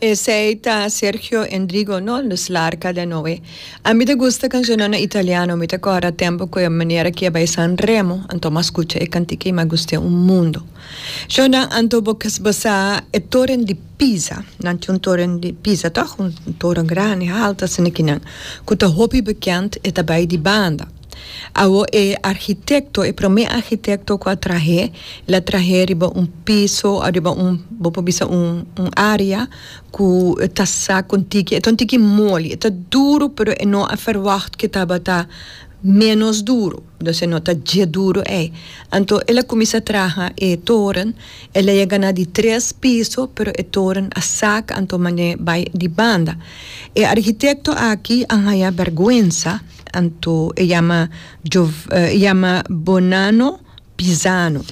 Esey ta Sergio Endrigo no? Dus L'arca de Noe. A mi ta gusta cancionnan na italiano, mi ta corda tempo cu e manera ki a bay San Remo, anto m'a scucha e cantica y m'a gust'e un mundo. Shownan anto bo bo sa e toren di Pisa, nan tin un toren di Pisa toch? Un toren grandi, halto asina kinan, cu ta hopi bekend, e ta bay di banda. Awo e architecto, e prome architecto cu a trahe, el a trahe riba un piso, riba un, bo por bisa un un area cu ta sa con tiki, e ta un tiki moli, e ta duro pero e no a verwacht cu e tabata menos duro, dus e no ta dje duro ey. Anto el a cuminsa traha e toren, el a yega na di tres piso pero e toren a sak anto mane bay di banda. E architecto aki a haya berguensa. Anto e yama e yama Bonanno Pisano.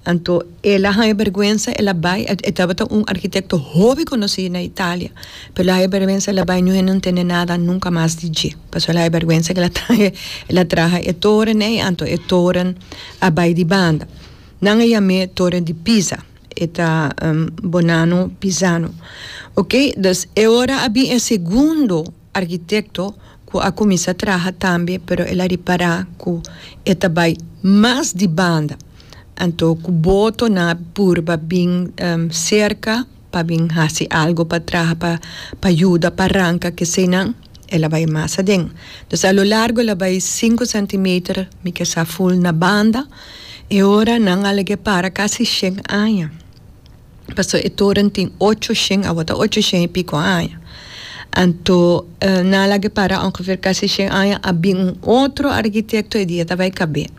Anto el a haña bergwensa, el a bai, e tabata un arkitekto hopi konosí na Italia, pero el a haña bergwensa, el a bai, niun hende no tende nada nunka mas di dje, pasobra el a haña bergwensa ku el a traha, el a traha e toren ei, anto e toren a bai di banda. Nan a yam'é Toren di Pisa, e ta Bonanno Pisano. Oke, dus e ora a bin e segundo. Arkitekto ku a kuminsá traha tambe pero el a ripará ku e ta bai mas di banda. Anto ku boto nan a purba bin serka pa bin hasi algu pa traha pa pa yuda pa ranka keseinan el a bai mas aden. Entonces a lo largo el a bai sinku sentimeter mi ke sa ful na banda e ora nan a lag'é para kasi shen aña. Pasobra e toren tin ocho shen, awor ta ocho shen y pico aña. Anto nan a laga para ongeveer casi shen aña, a bin un otro arquitecto e dia ta bay cab'é.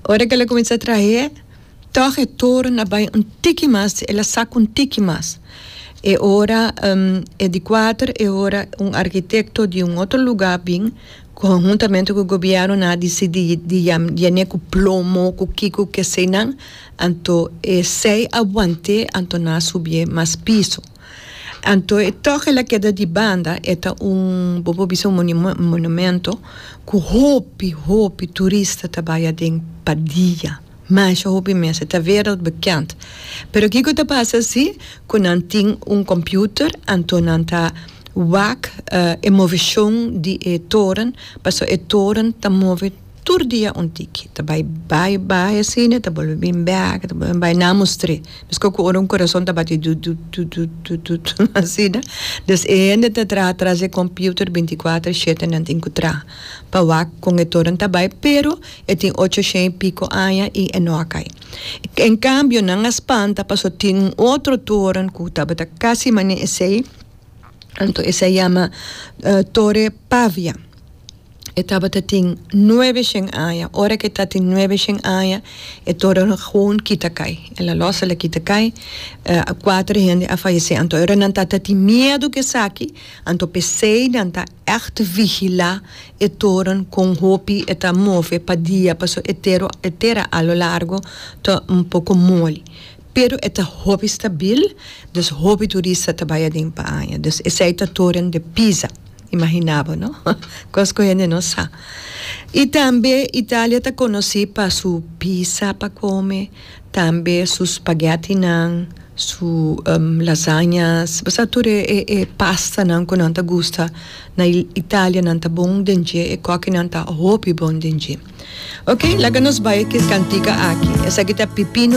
Ora cu el a cuminsa trah'é, tog e toren a bay un tiki mas, el a saca un tiki mas. E ora e di cuater, e ora un arquitecto di un otro lugar bin, conhuntamente cu gobierno nan a dicidi di yan'é cu plomo, cu kico, keseynan. Anto esei a want'é, anto nan a subié mas piso. Anto e tòg el a keda di banda, e ta un, bo por bisa un monumento ku hopi, hopi turista ta bai aden pa dia, masha hopi mes, e ta wereldbekend. Pero kiko ta pasa si ku nan tin un kòmpiuter, anto nan ta wak e moveshon di e toren, pasobra e toren ta move. Tur dia un tiki ta bai bai bai asina ta bolbe bin bek ta bolbe bai nan mustr'é meskos ku ora un kurason ta bati dut dut dut dut dut dut asina dus e hende ta traha tras e computer binti kuater shete nan tin ku traha pa wak kon e toren ta bai pero e tin ocho shen i piko aña i e no a kai en kambio nan a spanta paso tin un otro toren ku tabata kasi manera esei anto esei yama tore pavia. E tabata tin nuebe shen aña. Ora ku e ta tin nuebe shen aña, e toren gewoon kita kai. El a los, el a kita kai. Kuater hende a fayesé. Anto ora nan tata tin miedu ku esaki, anto p'esei nan ta ègt vigilá e toren kon hopi e ta move pa dia, pasobra e tero e tera a lo largo ta un poko moli. Pero e ta hopi stabil, dus hopi turista ta bai aden pa aña. Dus esei ta toren de Pisa. Imagina bo, no? Cos cu hende no sa. Y tambe Italia ta conoci pa su pizza pa come, tambe su spaghettinan, su lasagnas, bo sa tur e e pastanan cu nan ta gusta na Italia nan ta bon den dje, e kokinan ta hopi bon den dje. Ok, laga nos bai cu e cantica aki. Esaki ta Pipino.